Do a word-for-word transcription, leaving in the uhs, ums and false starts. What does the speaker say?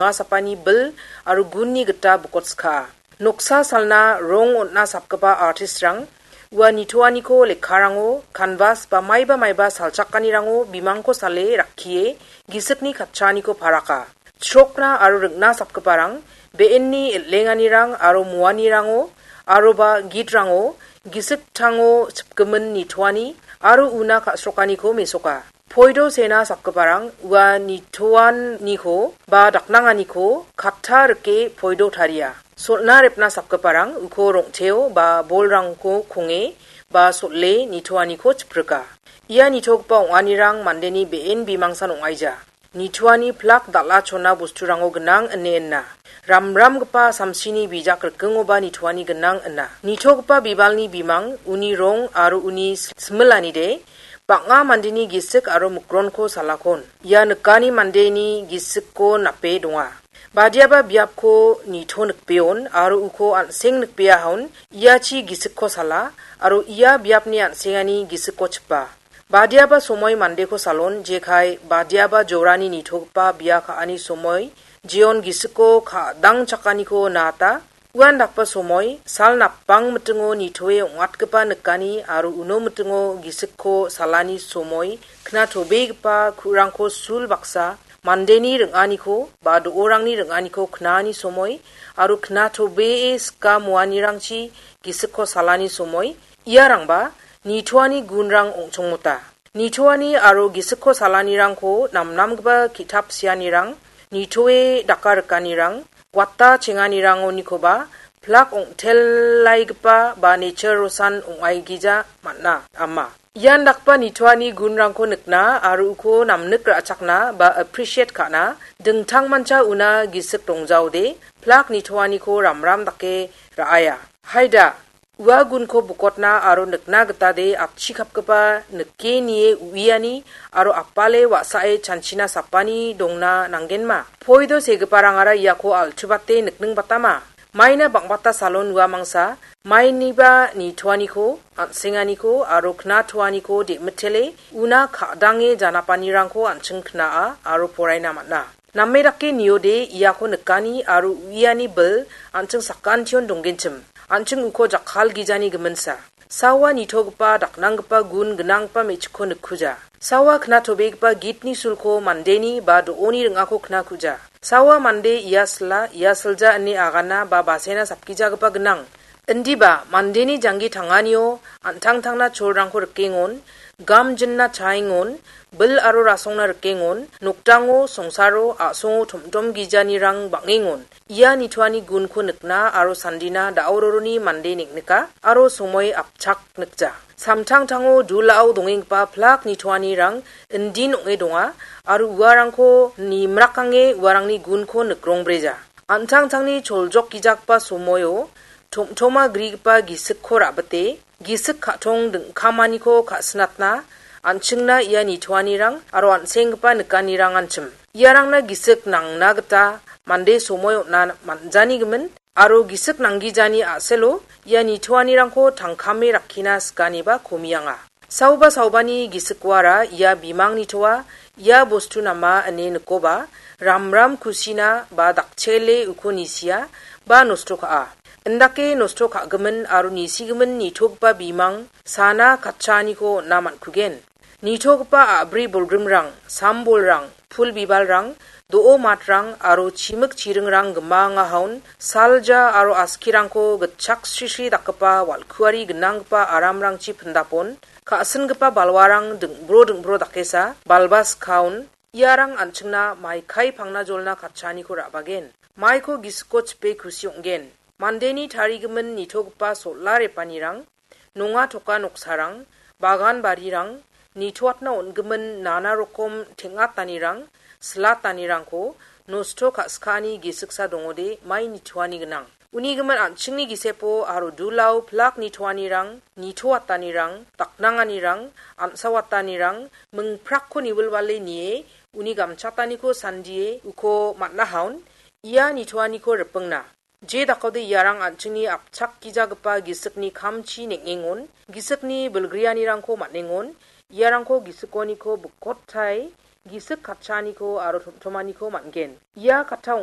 dongasapani bil aro gunni gita bokotska. Noksa salna rong on·a sapgipa artistrang ua nitoaniko lekkarango, kanvas ba maiba maiba salchakanirango bimangko sale rakkie gisikni katchaaniko paraka. Chrokna aro ring·na sapgiparang be·enni el·enganirang aro muanirango aroba gitrango gisik tango chipgimin nitoani aro una ka·srokaniko mesoka. Poido sena sapgiparang ua nitoaniko ba daknanganiko katta rike poido taria. Sol·na repna sapgiparang uko rong·teo ba bolrangko konge ba sol·e nitoaniko chiprika. Ia nitogipa ong·anirang mandeni be·en bimangsan ong·aija. Nitoani plak dal·a chona bosturango gnang ine ina. Ramramgipa samsini bijak rikingoba nitoani gnang ina. Nitogipa bibalni bimang, uni rong aro uni similanide bang·a mandeni gisik aro mikronko salakon. Ia nikani mandeni gisikko nape donga. Badiaba biapko nito nikbeon aro uko an·seng nikbeahaon, iachi gisikko sala aro ia biapni an·sengani gisikko chipa. Badiaba somoi mandeko salon, jekai badiaba jorani nitogipa bia ka·ani somoi, jeon gisiko ka·dangchakaniko naata. Uan dakba somoi, sal napbang mitingo nitoe ong·atgipa nikani aro uno mitingo gisikko salani somoi, knatobegipa ku·rangko sul baksa, mandeni ring·aniko ba do·orangni ring·aniko knaani somoi aro knatobee sika muanirangchi gisikko salani somoi, iarangba nitoani gunrang ong·chongmota. Nitoani aro gisikko salanirangko namnamgipa ki·tap sianirang, nitoe daka rikanirang, wata chenganirangonikoba plak ong·telaigipa ba nature rosan ong·aigija man·a, ama. Ian dakgipa nitoani gunrangko nikna aro uko namnik ra·chakna ba appreciate ka·na dingtangmancha una gisik dongjaode plak nitoaniko ramram dake ra·aia. Haida, ua gunko bokotna aro nikna gitade apchikapgipa nike nie uiani aro apale wa·sae chanchina sapani dongna nanggenma. Poido segiparangara iako alchubate nikningbatama. Maina bang·bata salon ua mangsa, mainiba nitoaniko, an·senganiko aro knatoaniko de·mitele una ka·dange janapanirangko an·ching kna·a aro poraina man·a. Name dake niode iako nikani aro uiani bil an·ching sakantion donggenchim. An·ching uko jakkalgijani giminsa. Sawa nitogipa daknanggipa gun gnanggipa me·chikko nikkuja. Sawa knatobegipa gitni sulko mandeni ba do·oni ring·ako knakuja. Sawa mande ia sila, ia silja ine agana ba basena sapgijagipa gnang. Indiba mandeni janggi tanganio an·tangtangna cholrangko rikengon, gamjinna chaengon, bil aro rasongna rikengon, nokdango, songsaro, a·songo tomtom gijanirang bang·engon. Ia nitoani gunko nikna aro sandina da·ororoni mande neng·nika aro somoi apchak nikja. Samtangtango dulao dongenggipa plak nitoanirang indin ong·e donga aro uarangko nimrakange uarangni gunko nikrongbreja. An·tangtangni choljokgijagipa somoio tom·toma grigipa gisikko ra·bite, gisik ka·tong dingkamaniko ka·sinatna an·chingna ia nitoanirang aro an·senggipa nikanirang anchim. Iarangna gisik nangna gita mande somoi on·na man·janigimin aro gisik nanggijani a·selo ia nitoanirangko tangkame rakkina sikaniba komianga. Saoba saobani gisikoara ia bimang nitoa, ia bostu nama ine nikoba, ramram kusina ba dakchele uko nisia ba nosto ka·a. Indake nosto ka·gimin aro nisigimin nitogipa bimang sana katchaaniko on·na man·kugen. Nitogipa a·bri bolgrimrang, sam-bolrang, pul bibalrang, do·o matrang aro chimik chiringrang gimangahaon salja aro askirangko gitchak srisri dakgipa wal·kuari gnanggipa aramrangchi pindapon, ka·singipa balwarang ding·bro ding·bro dakesa balba skaon, iarang an·chingna maikai pangna jolna katchaaniko ra·bagen. Maiko gisiko chipe kusi ong·gen. Mandeni tarigimin nitogipa sol·a repanirang, nonga toka noksarang, bagan barirang, nitoatna on·gimin nana rokom teng·atanirang, silatanirangko nosto ka·skani gisiksa dongode mai nitoani gnang. Unigimin an·chingni gisepo aro dulao plak nitoanirang, nitoatanirang, daknanganirang, an·sawatanirang, mingprakko niwilwale nie, uni gamchataniko sandie uko man·ahaon, ia nitoaniko ripingna. Je dakode iarang an·chingni apchakgijagipa gisikni kamchi neng·engon, gisikni bilgrianirangko man·engon, iarangko gisikoniko bikotai, gisik katchaaniko aro tomtomaniko man·gen. Ia katta ong·,